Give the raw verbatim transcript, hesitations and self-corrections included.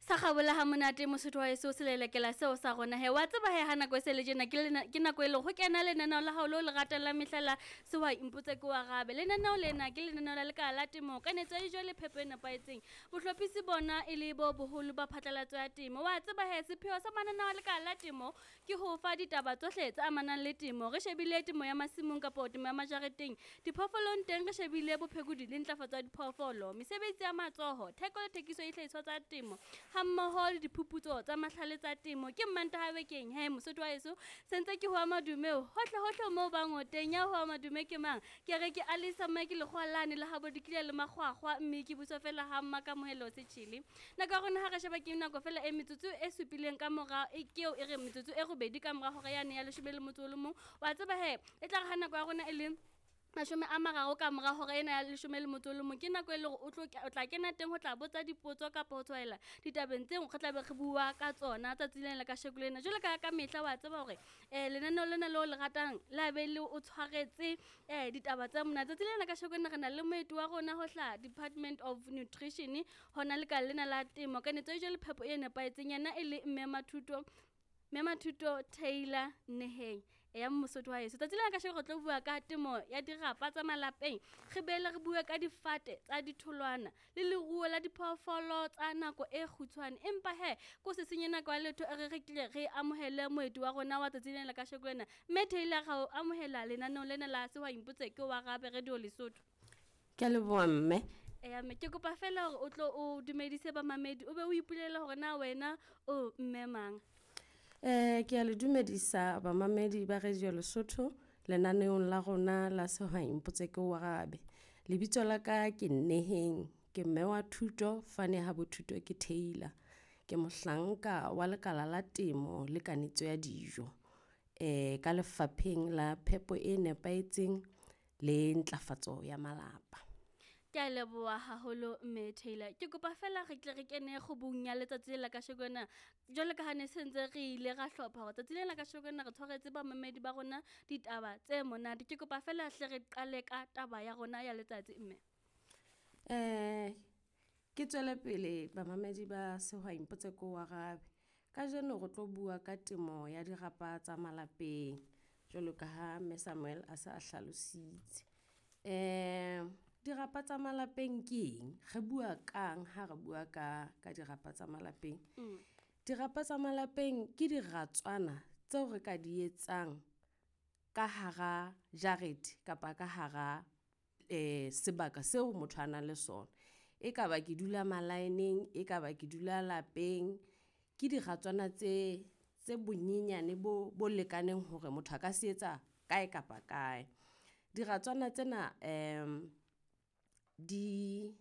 Sa kgabola ha monate Mosotho wa heso selelekela seo sa rona he. Wa tseba he ha nako e se le tjena ke lena, ke nako e leng ho kena lenaneo la hao leo le ratang la mehla la Sehwai Mpotse Ke o Arabe. Lenaneo lena ke lenaneo la lekala la temo, kanetso ya dijo le phepo e nepahetseng. Bohlophisi bona e le bo boholo ba phatlalatso ya temo. Wa tseba he sepheo sa mananeo a lekala la temo ke ho fa ditaba tsohle tse amanang le temo. Re shebile temo ya masimong kapo temo ya majareteng. Diphoofolong teng re shebile bophekodi le ntlafatso ya diphoofolo, mesebetsi ya matsoho, theko le thekiso ya dihlahiswa tsa temo, hammoho le diphuputso tsa mahlale tsa temo. Ke Mmantaha bekeng he Mosotho wa heso, sentse ke hoa madume hohle hohle moo bang o teng. Ya hoa madume ke mang? Ke re ke Alisa Mike lekgowa lane le habo dikile le makgwakgwa, mme ke buswa fela ha Mmakamohelo Setjhele. Nako ya rona ha re sheba ke nako fela e metsotso e supileng ka mora, e ke eo e re metsotso e robedi ka mora hora yane ya leshome le motso o le mong. Wa tseba he e tla re ha nako ya rona e le mashome a mararo ka mora hora ena ya leshome le motso o le mong, ke nako e leng hore o tlo o tla kena teng ho tla botsa dipotso kapa ho tshwaela ditabeng tseo re tlabe re bua ka tsona tsatsi lena la kasheko lena. Jwalo ka ka mehla wa tseba hore um lenaneo lena leo le ratang la be le o tshwaretse um ditaba tse monate. Tsatsi lena la kasheko lena re na le moeti wa rona ho hlaha Department of Nutrition, hona lekala lena la temo, kanetso ya dijo le phepo e nepahetseng. Yena e le Mme Mathuto, Mme Mathuto Taylor Neheng ya Mosotho wa heso. Tsatsi lena kasheko re tlo bua ka temo ya dirapa tsa malapeng, re boele re bue ka difate tsa ditholwana le leruo la diphoofolo tsa nako e kgutshwane. Empa he ko se senye nako ya letho, e re re tle re amohele moeti wa rona wa tsatsi lena la kasheko lena. Mme Taylor, ra o amohela lenaneong lena la Sehwai Mpotse Ke o Arabe Radio Lesotho. Ke a leboha mme. Eya mme, ke kopa fela hore o tlo o dumedise bamamedi, o be o ipolele hore na wena o mme mang. Eh ke a le dumedisa bamamedi ba Radio Lesotho lenaneong la rona la Sehwai Mpotse Ke o Arabe. Lebitso la ka ke Nneheng, ke mme wa thuto, fane ha bothuto ke Taylor. Ke mohlanka wa lekala la temo le kanetso ya dijo. Eh ka lefapheng la phepo e nepahetseng le ntlafatso ya malapa. Ke a leboha haholo Mme Taylor. Ke kopa fela re tle re kene kgubung ya letsatsi le la kasheko lena. Jwalo ka ha ne sentse re ile ra hlopha hore tsatsi lena la kasheko lena re tshwaretse bamamedi ba rona ditaba tse monate. Ke kopa fela hle re qale ka taba ya rona ya letsatsi mme. Eh ke tswele pele bamamedi ba Sehwai Mpotse Ke o Arabe. Kajeno re tlo bua ka temo ya dirapa tsa malapeng jwalo ka ha Mme Samuel a se a hlalositse. Eh dirapa tsa malapeng ke eng? Re bua kang ha re bua ka ka dirapa tsa malapeng? Mm. Dirapa tsa malapeng ke diratswana tseo re ka di etsang ka hara jarete kapa ka hara eh sebaka seo motho a nang le sona. E ka ba ke dula malaeneng, e ka ba ke dula lapeng, ke diratswana tse tse bonyenyane bo bo lekaneng hore motho a ka se etsa kae kapa kae. Diratswana tsena em di